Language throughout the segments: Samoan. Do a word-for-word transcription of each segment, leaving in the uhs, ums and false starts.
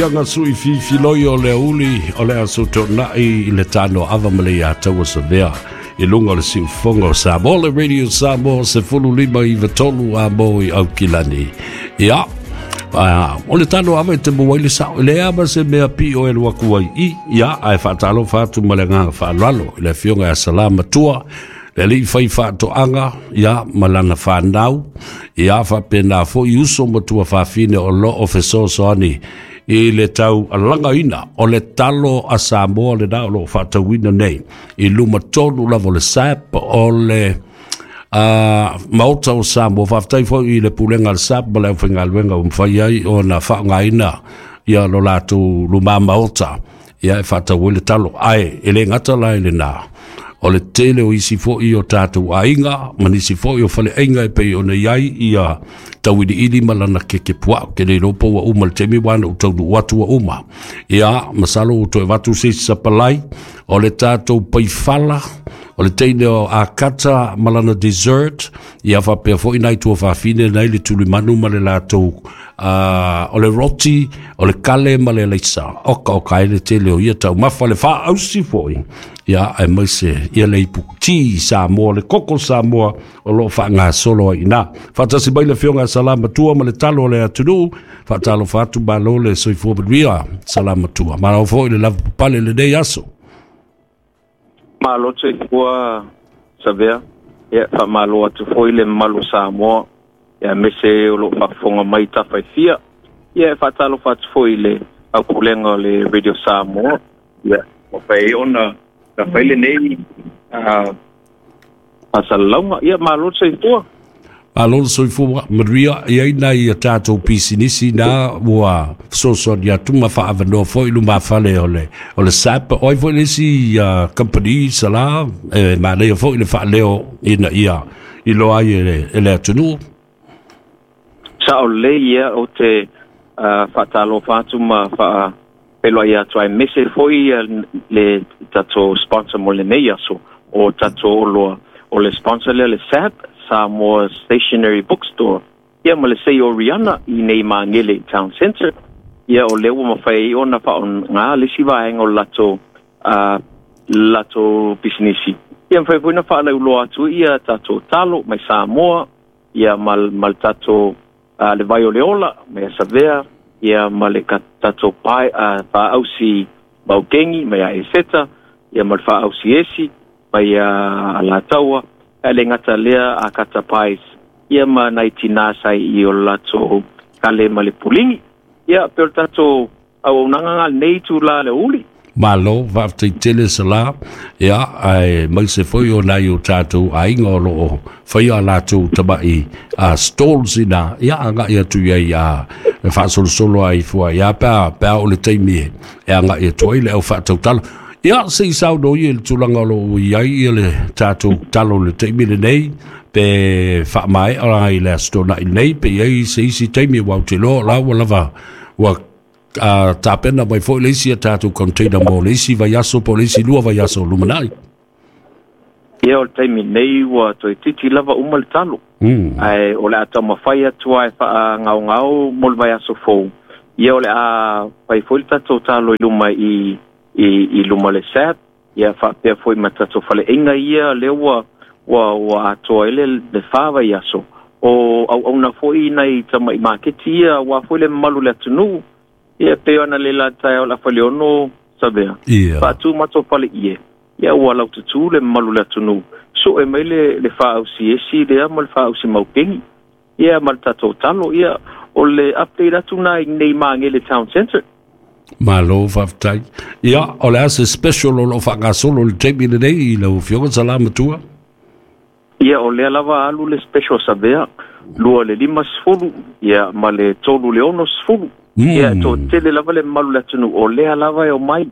Anga sui fifiloi o le uli o le aso tōnai i le tāno ava ma le ia taua savea i lunga o le siufonga o Samoa le Radio Samoa se fulu lima i vatolu a mo i aukilani. Ia, o le tāno ava e te mua i le sao, le ama se mea pi o e luaku ai i, ia, ae whaatalo whaatu ma le nganga whaalalo i le fionga a salama tua, le li fai whaatoanga, ia, malana whanau, ia, whapena fo i uso matua whawhine o lo o fesoasoani i le tau alanga ina o le talo a Samoa le nā o lo whaatauina nei i luma tonu lava o le S A P o le uh, maota o Samoa. Whaaftai fo i le pulenga le S A P ma le au whaingaluenga o mwhai ai o na whaongaina ia lo lātou luma maota ia e whaatau le talo ai e le ngata lai le nā o le tele o isi fo'i o tātou aiga ma nisi fo'i o fale aiga e pei ona iai ia tauili ili ma lana keke pua'u ke le iloa ua uma le taimi ua ana ou taunuu atu ua uma. Ia masalo ua toe avatu se isi sapalai o le tatou paifala o le teine o akata ma lana dessert, ia faapea fo'i nai tuafafine nai le tulimanu ma le latou uh, o le roti o le kale ma le leisa oka oka ai le tele o ia taumafa le faausi fo'i ia ae maise ia le ipu ti Samoa le koko Samoa o loo faagasolo ai ina faatasi mai le afioga Salamatua ma le talo o le atunuu. Faatalofa atu, malo le soifua manuia Salamatua, malo foi le lava papale lenei aso. Malo soifua Savea. Ia faamalo atu foi le mamalu Samoa ia mese o loo faafofoga mai tafaifia. Ia e faatalofa atu foi le aupulega o le Radio Samoa ia ua fai ona na fai lenei faasalalauga. Ia malo le soifua. Malo le soifua manuia. Iai nai a tatou pisinisi na ua fesoasoani atu ma faaavanoa foi lumafale o le o le S A P o ai foi le isi uh, company sala e manaia foi le faaleo ina ia iloa ai e le, e le atunuu. Sao lelei. Ia o te uh, faatalofa atu ma faa peloai atu ai mese foi le tatou sponsor mo lenei aso o tatou oloa o le sponsor lea le S A P, Samoa Stationery Bookstore, ia ma le sei o Rihanna i nei Magele Town Center. Ia o lea ua mafai ona faaogā le isi vaega o le latou uh, latou pisinisi. Ia mafai foi na faalauiloa atu ia tatou talo mai Samoa ia ma, ma le tatou uh, le vai o le ola mai Asavea ia ma le tatou pae uh, faausi maukengi mai a Eseta ia ma le faausi esi mai a Alataua a le gata lea a kata pies ia ma nai tinā sai i o latou kale ma le puligi ia pe o le tatou auaunaga ga lenei tula le uli. Malo, faafetai tele Sala, ia ae maise foi o nai o tatou aiga o loo faia latou tama'i a stalls ina ia aga'i atu iai a e faasolosolo ai fua ia pea pea o le taimi e aga'i atu ai le au faatautalo. Ia se i sauno ia i le tulaga o loo i ai ia le tatou talo le taimi lenei pe faamaea i le aso Tona'i nei pe i ai se isi taimi ua ou te iloa la ua lava ua uh, tapena mai foi le isi a tatou container mo le isi vaiaso po le isi lua vaiaso lumanai. Ia o le taimi nei ua toetiti lava uma le talo mm. ae o le a taumafai atu ai faagaogao mo le vaiaso fou. Ia o le a fai foi le tatou talo i luma i i, i luma le S A P ia faapea foi ma tatou faleaiga ia lea ua ua ua atoa ai le, le fa vaiaso o auauna foi nai tama'i maketi ia ua foi le mamalu le atunuu. Ia pe ona le la taeao le afaleono Savea yeah. faatu matou fale ie ia ua laututū le mamalu le atunuu so'e mai le le faausi esi lea ma le faausi maukegi ia ma le tatou talo. Ia o le update atu na i nei Magele Town Center. Malo faafetai. Ia o le a se special o loo faagasolo le taimi lenei i lau afioga Salamatua? Ia o lea lava alu le special Savea lua le lima sefulu ia ma le tolu le ono sefulu. mm. Ia to tele lava le mamalu le atunuu o lea lava e o mai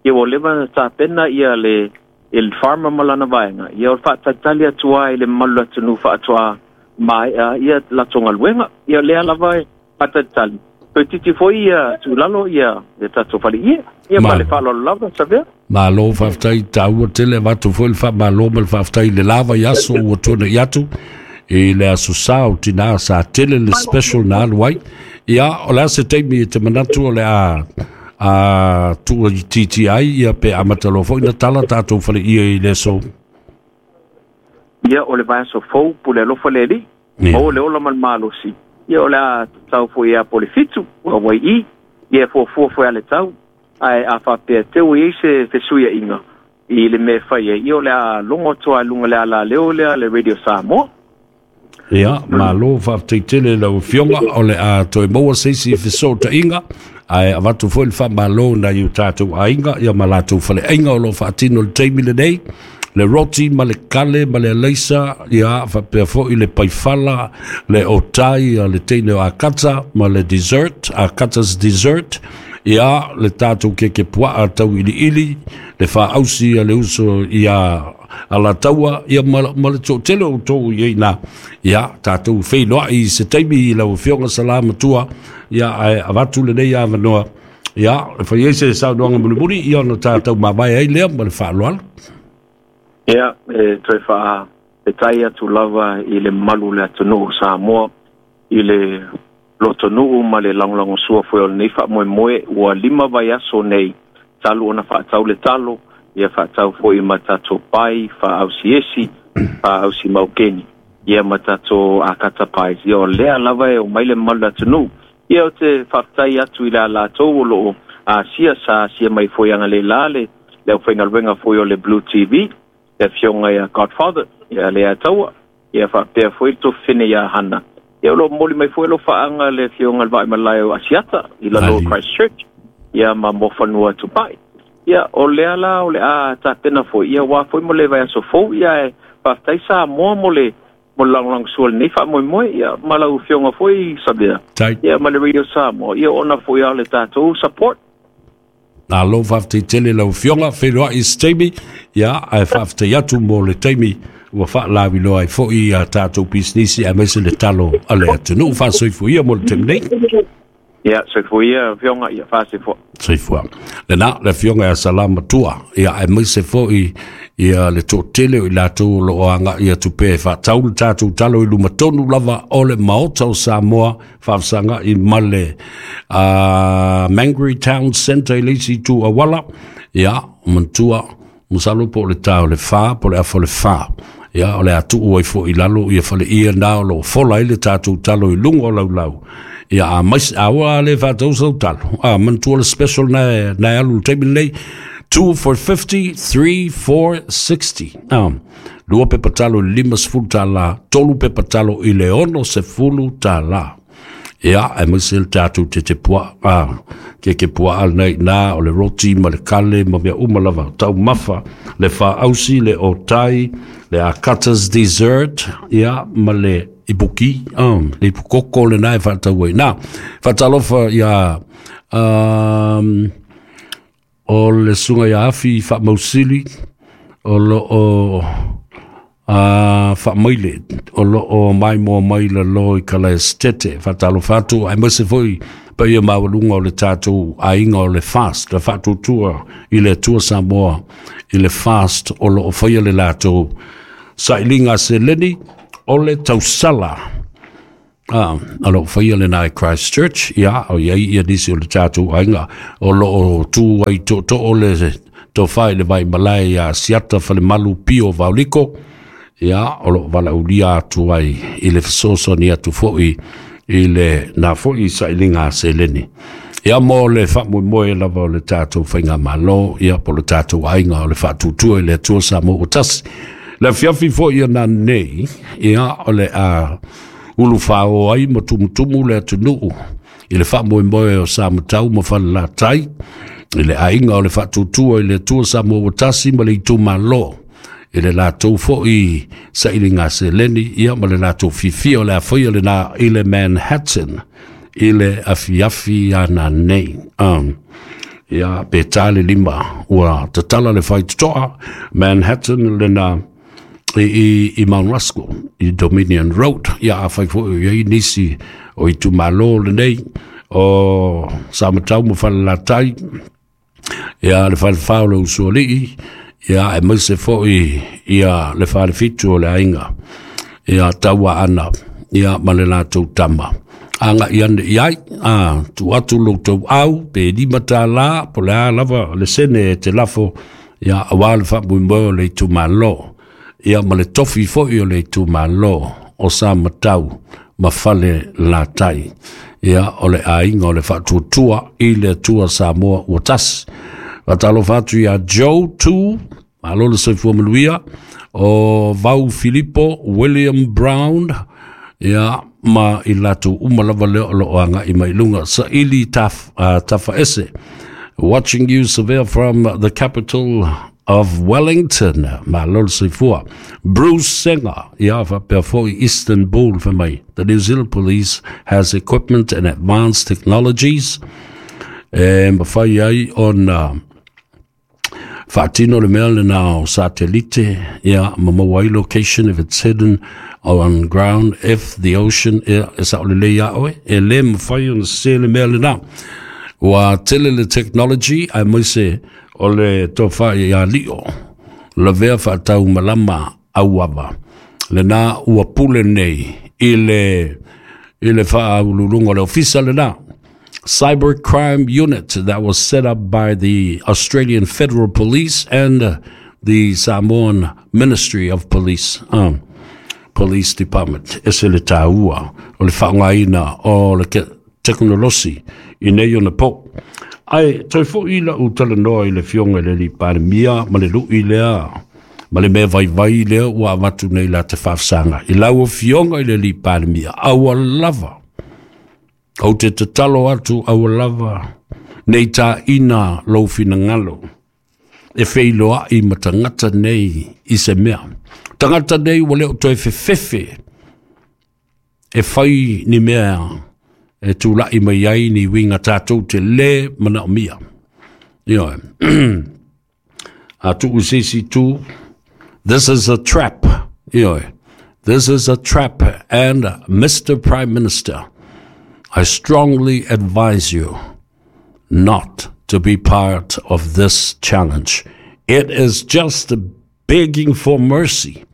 ia ua leva na tapena ia le il farmer ma lana vaega ia o le faatalitali atu ai le mamalu le atunuu faatoa maea ia latou galuega. Ia lea lava e faatalitali toetiti foi ia tulalo ia le tatou faleie ia ma le faaaloalo lava Savea. Malo faafetai, taua tele avatu foi le faamalo ma le faafetai le lava i aso ua tuana'i atu i le aso sa o tinā sa tele le special na alu ai. Ia, o le a se taimi e te manatu o le a a tua i titi ai, ia pe amata loa foi na tala tātou fale ia i le aso. Ia, o le vaiaso fou, pule alofa le Alii, maua le ola ma le malosi. Ia, o le a tatau foi ia po le fitu, ua wai i, ia fuafua foi a le tau, ae a faapea teu i ai se fesuiaiga i le mea e fai ai, ia o le a logo atu lava i luga le alaleo lea le Radio Samoa. Ia, malo faafetai tele i lau Afioga, o le a toe maua se isi fesootaiga, ae avatu foi le faamalo nai o tatou aiga ia ma latou faleaiga o lo o faatino i le taimi lenei, le roti ma le kale ma le alaisa, ia faapea foi le paifala, le otai a le teine o Akata ma le dessert, Akata's dessert, ia le tatou keke puaa tauiliili, le faausi a le uso ia Alataua, ia ma, ma le toatele o outou i ai na, ia tatou feiloai i se taimi i lau Afioga Salamatua, ia ae avatu lenei avanoa, ia e fai ai se saunoaga mulimuli, ia ona tatou mavae ai lea ma le faaaloalo. Ia, e toe faafetai atu lava i le mamalu o le atunuu o Samoa, i le lotonuu ma le lagolagosua foi o lenei faamoemoe, ua lima vaiaso nei talu ona faatau le talo, ia faatau foi ma tatou pai faaausiesi, faaausi maukeni, ia ma tatou akata pies. Ia o lea lava e omai le mamalu o le atunuu. Ia ou te faafetai atu i le latou o loo asia, sa asia mai foi analeila le le aufaigaluega foi o le Blue T V, le afioga ia Godfather, ia Lea Taua, ia faapea foi le tofene ia Hana. Ia o loo momoli mai foi lo faaga le afioga le Vaaimalae o Asiata i lalo o Christchurch, ia ma Mofanua Tupai. Ia o lea la o le a tapena foi, ia ua foi mo le vaiaso fou, ia e faafetai Samoa mo le mo le lagolagosua lenei faamoemoe, ia ma lau afioga foi Sabea, ia ma le Radio Samoa, ia ona foi a le tatou support. Alo faafetai tele lau Afioga, feiloai i se taimi, ia ae faafetai atu mo le taimi ua faalaviloa ai foi a tatou pisinisi aemaise le talo a le atunuu. Faasoifua mo le taimi nei. Ia, soifua ia Afioga, ia faasoifua. Soifua. Lena, le Afioga ia Salamatua, ia aemaise foi ia le toatele o i latou o loo aga'i atu pea e faatau le tatou talo i luma tonu lava o le Maota o Samoa, faafesaga'i ma le uh, Mangere Town Centre i le isi itu auala, ia, manatua, masalo po o le tā o le fa, po o le afa o le fa. Ia, o le a tuu ai foi i lalo ia faleia na o loo fola ai le tatou talo i luga o laulau. Ia, a mais, a ua le faatau sau talo. A, manatua le special na, na alu le taimi lenei, two for fifty, three for sixty. Ah, lua pepa talo i le lima sefulu tālā, tolu pepa talo i le ono sefulu tālā. Ia, aemaise le tatou tete puaa, ah, keke puaa lenei nā, o le roti ma le kale ma mea uma lava, taumafa, le faausi, le otai, le Akata's dessert, ia, ma le ipuki, ah, le ipukoko le nā e faatau ai. Nā, faatalofa ia, um, o le suga ia afi faamausili, o loo a faamaile, o loo maimoa mai lalo i Kalaesetete. Faatalofa atu, aemaise foi paia maualuga o le tatou aiga o le fast, le faatuatua i le Atua Samoa i le fast o loo faia le latou sailiga seleni o le tausala. Ah, o loo faia lena i Christchurch, ia, o iai ia nisi o le tatou aiga o loo tu ai tootoo le tofa i le Vaimalae ia Siata Falemalu Pio Vaoliko, ia, o loo valaaulia atu ai i le fesoasoani atu foi i le na foi sailiga seleni. Ia, mo le faamoemoe lava o le tatou faigamalo, ia, po le tatou aiga o le faatuatua i le Atua Samoa ua tasi. Le afiafi foi ia nanei, ia, o le a ulufāō ai ma tumutumu le atunuu i le faamoemoe o Samatau ma Falelatai, i le aiga o le faatuatua i le Atua Samoa ua tasi ma le itumalo, i le latou foi sailiga seleni, ia, ma le latou fiafia o le a faia lena i le Manhattan i le afiafi ana nei. Um, ia, pe tā le lima ua tatala le faitotoa Manhattan lena i, i, i Mount Ruskell, i Dominion Road. Ia, a fai foi i ai nisi o itumalo lenei o Samatau ma Falelatai, ia, le falefā o le Usoalii, ia, aemaise foi ia le falefitu o le aiga, ia, Taua Ana, ia, ma le latou tama. Anga i ane i ai, a, tu atu lo tau au, pe lima tālā, po le a lava le sene e te lafo, ia awa le faamoemoe o le itumalo, ia ma le tofi foi o le itumalo o sa matau ma fale latai. Ia o le aiga o le faatuatua i le Atua Samoa ua tasi. Faatalofa atu ia Joe Tu, malo le soifua manuia, o Vau Filipo, William Brown, ia ma i latou uma lava lea o loo agai mai luga saili taf, uh, tafaese. Watching you, Savea, from the capital of Wellington. Malo le soifua. Bruce Senga, ia faapea foi Istanbul fai mai. The New Zealand Police has equipment and advanced technologies e mafai ai ona faatino le mea lena o satelite, ia ma maua ai location if it's hidden or on ground, if the ocean, ia e sao lelei ia oe, e le mafai ona sese le mea lena. Ua tele le technology aemaise o le tofa ia lio lavea faatau malama auava lena ua pule nei i le i le faauluuluga o le ofisa lena. Cybercrime Unit that was set up by the Australian Federal Police and the Samoan Ministry of Police, um, Police Department. E se le tāua o le faaaogaina o le tekonolosi i nei ona po. Ai, toe foi la u talanoa i le fionga i le alii Palemia ma le lui lea, ma le mea vaivai lea ua avatu nei la te faafesaga. I lau afioga i le alii Palemia, aua lava, ou te tatalo atu aua lava, nei tāina lou finagalo, e feiloai ma tagata nei i se mea. Tagata nei ua le o toe fefefe e fai ni mea e tula'i mai ai ni uiga tatou te lē manaomia. Ioe. A tuu se isi itu, this is a trap. Ioe. This is a trap, and Mister Prime Minister, I strongly advise you not to be part of this challenge. It is just begging for mercy.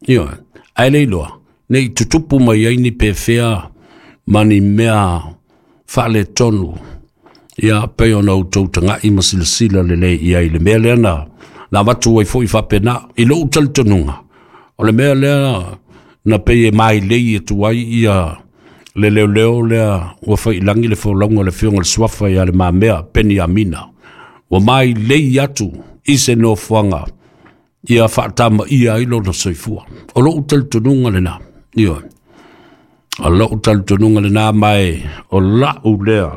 Ioe. Ae le iloa, ne i tutupu mai ai ni pefea ma ni mea faaletonu, ia pei ona outou taga'i ma silasila lelei i ai le mea lea na na avatu ai foi faapena i lou talitonuga o le mea lea na pei e mailei atu ai ia le leoleo lea ua faiilagi le folauga o le Afioga i le Suafa ia Le Mamea Peniamina ua mailei atu i se nofoaga ia faatamaia ai lona soifua. O lou talitonuga lena. Ioe. O lou talitonuga lena mae o lau lea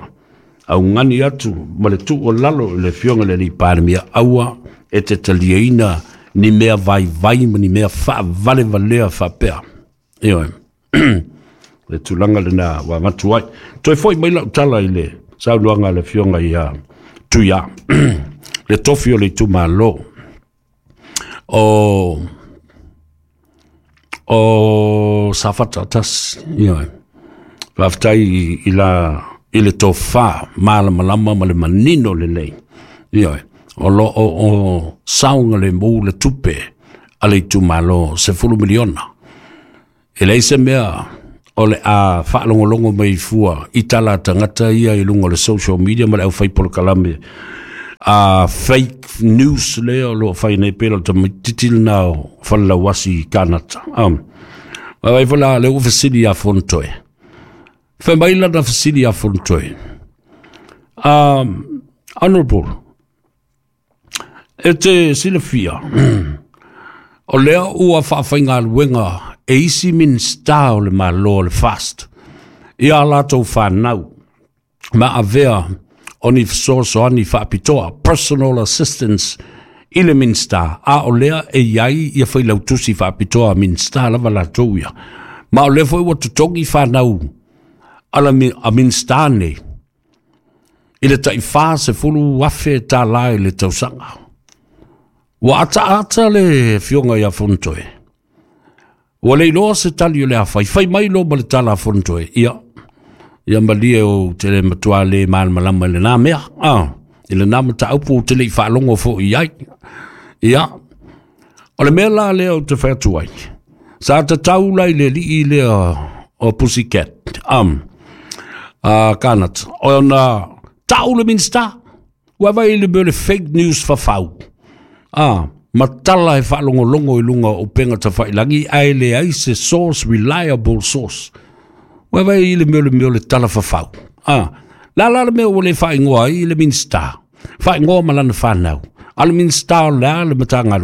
augani atu ma le tuu o lalo i le Afioga i le alii Palemia, aua e te taliaina ni mea vaivai ma ni mea faavalevalea faapea. Ioe. Le tulaga lena ua avatu ai. Toe foi mai lau tala i le saunoaga a le Afioga ia Tuia, le tofi o le itumalo o o Safata tasi. Ioe. Faafetai i la i le tofa malamalama ma le manino lelei. Ioe. O lo o, o saogalemu le tupe a le itumalo sefulu miliona. E leai se mea o le a faalogologo mai fua i tala a tagata ia i luga o le social media ma le aufai polokalame a fake news lea o lo o fai nei pela o le tamaitiiti lena o Falelauasi i Kanata. Um, Vaai foi la lea ua fesili ia Fonotoe. Fai mai lana fesili ia Fonotoe. Um, honorable, e te silafia, o lea ua faafaigaluega e isi Minista o le Malo o le FAST ia latou fanau ma avea o ni fesoasoani faapitoa, personal assistance, i le Minista, a o lea e i ai ia failautusi faapitoa a Minista lava latou ia. Ma o lea foi ua totogi fanau a la a Minista nei i le tai fa sefulu afe tālā i le tausaga. Ua ataata le afioga ia Fonotoe. Ua le iloa se tali o le a fai. Fai mai loa ma le tala a Fonotoe. Ia, ia malie ou te le matua le malamalama i lena mea. Ah, i lena mataupu ou te le i faalogo foi i ai. Ia, o le mea la lea ou te fai atu ai. Sa tatau la i le alii lea o Pussycat. Um, A kanata ona tau le Minista ua vai le mea le fake news fafau. A matala e faalogologo i luga o upega tafailagi ae leai se source, reliable source. Ua vai le mea le mea le tala fafau. A la la le mea ua le faaigoa ai le Minista, faaigoa ma lana fanau a le Minista o le a le Matagaluega.